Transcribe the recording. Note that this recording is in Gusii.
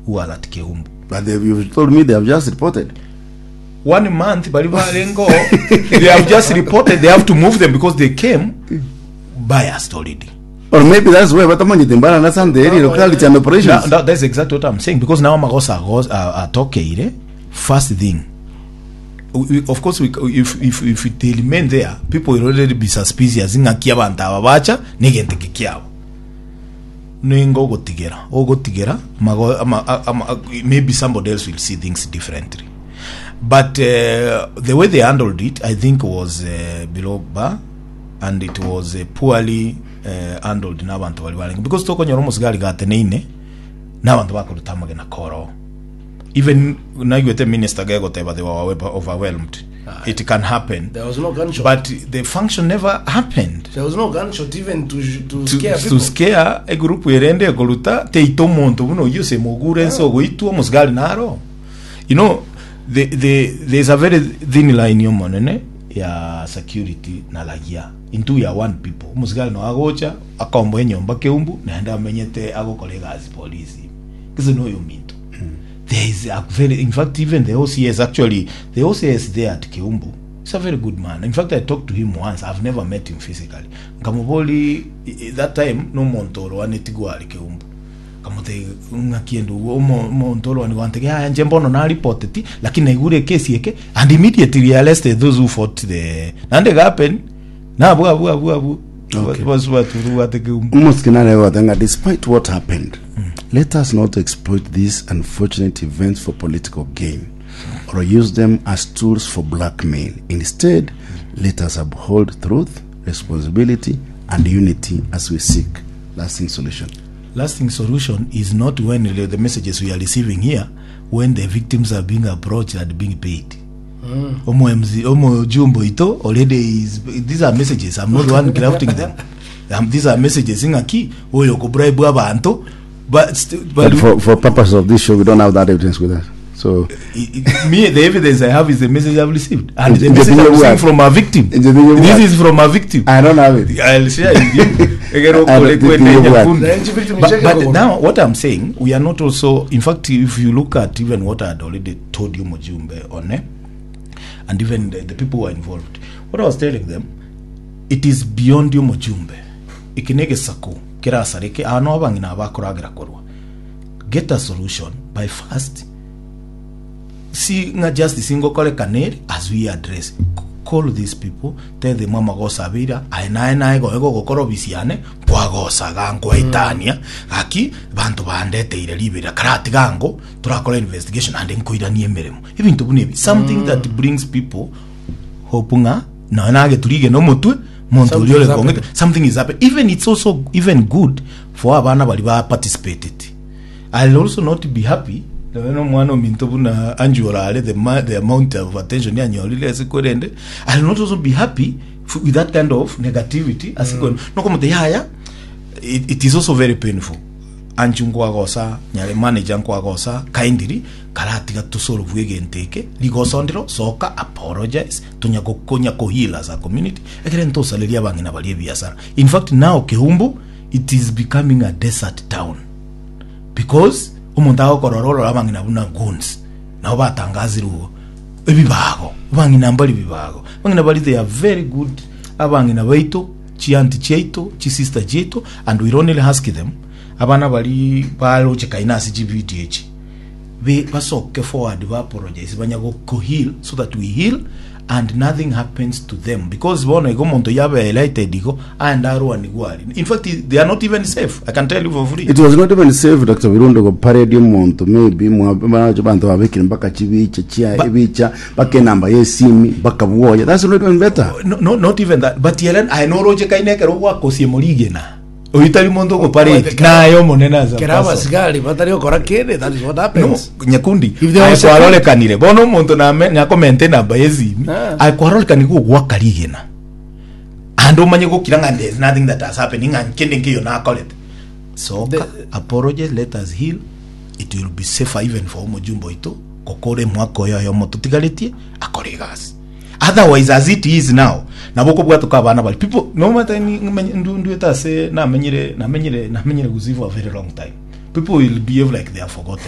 who was at Keumbu. But they, you told me they have just reported. One month bari barenge oo, they have just reported they have to move them because they came biased already. Or maybe that's why batamanyete mbana na Sunday eri locality and operations. Now, that's exactly what I'm saying because now amagoso atokeire first thing we, of course we, if they remain there people will already be suspicious ng'aki abanto aba bacha negento eke kiabo ningo ogotigera ogotigera mago, ama, ama, maybe somebody else will see things differently but the way they handled it I think was below bar and it was poorly handled n'abanto baria barenge because tokonyora omosigari gateneine n'abanto bakoruta amagena koro even naigwete minister gegoteba they were overwhelmed it can happen There was no gunshot. but the function never happened there was no gunshot even to scare to people. scare egroup erende ekoruta teita omonto buna oyio ase mogure ense ogoitwa omosigari naro you know there's a very thin line omonene ya security na raia intwe we are one people omosigari noyo agocha akomboa enyomba keumbu naende amenyete agokora egasi polisi gese noyo ominto there is a very in fact even the OCS actually the OCS there at Keumbu is a very good man in fact I talked to him once I've never met him physically nkamobori that time nomonto orwaneti gware Keumbu Nkamotebia, Ng'aki endugu, omonto orwane gwantebia, Yaya, inche mbono naripoteti, lakini naigure ekesi eke, and immediately he arrested those who fought the naende ega happen nabwo abwo abwo abwo Okay. bonsi batubwate keumbu. Omosike nare goteba ng'a despite what happened, let us not exploit these unfortunate events for political gain or use them as tools for blackmail. Instead, let us uphold truth, responsibility, and unity as we seek lasting solution. Lasting solution is not when the messages we are receiving here when the victims are being approached and being paid. Omo MC, omo jumbo ito already is these are messages I'm not the one crafting them. These are messages ng'aki oyo ko bribe abanto but, But for purpose of this show, we don't have that evidence with us. So Me the evidence I have is the message I've received and the Nje message tinye I'm bwate. receiving from a victim. Nje tinye This bwate. is from a victim. I don't have it. I'll share with you. Egero I kore don't think kwende you have. nyakundi. Na nchi victim But, icheke but kogoro. now what I'm saying, we are not also in fact if you look at even what I had already told you Mujumbe on eh, and even the people who are involved, what I was telling them, it is beyond you Mujumbe. Iki negesaku kerasareke ano abang'ina abakoragera korwa. Get a solution by first see ng'a justice ngokorekana ere as we address call these people tell them amagoso abeire aye naye naye goe gogokora obisi yane nkwagosaga nkwaetania gaki banto bandeteire riberera karatiga ango torakora investigation ande nkoiranie emeremo ebinto buna ebi something that brings people hope ng'a nonya nageturige nomotwe monto oria Something ore is kong'ete happening. something is happening even it's also even good for abana baria ba participated I'll also not be happy nonya na omwana ominto buna Angie orare the, ma, the amount of attention yanyorire ase korende I'll not also be happy with that kind of negativity ase mm. nokomote yaya it is also very painful Angie nkwagosa nyare manager nkwagosa kindly karatiga tosolve egento eke rigoso ndiro soka apologize tonya gokonya koheal as a community ekere ntosareria abang'ina baria ebiasara in fact now Keumbu it is becoming a desert town because omonto agokorora orore abang'ina buna goons nabo batangazirwe igo ebibago abang'ina mbari bibago abang'ina bari they are very good abang'ina baito chianti chiaito chisister chiaito and we only ask them abana bari barochekaine ase chivideo echi be basoke forward ba apologize banya go heal so that we heal and nothing happens to them because bono igo omonto yabe highlighted igo aende arwanigwe aria in fact they are not even safe I can tell you for free. It was not even safe Dr. Birundo go parade omonto maybe mwache banto babekire mpaka chibicha chia ebicha mpaka enamba ye esimi mpaka bwoya that's not even better. No, no, not even that but Helen aye noroche kaine ekero gwakosie morigena Oyio tari monto ogopareti, naye Omonene ase Kera abaso. abasigari batari gokora kende, that is what No, happens. nyakundi If there aye was a kwarorekanire bono omonto name nakomente enamba y'esimi Ah. aye kwarorekanire gogwaka rigena ande omanye gokira ng'a there is nothing that has happened ng'a kende nkeiyo nakorete soka The- apologize let us heal it will be safer even for omojumbe oito gokora emwaka oyo oyomo totigaretie akore egasi Otherwise as it is now nabo okobwatoka abana baria people nomanyete nduete ase namenyire namenyire namenyire gusii for a very long time people will behave like they have forgotten.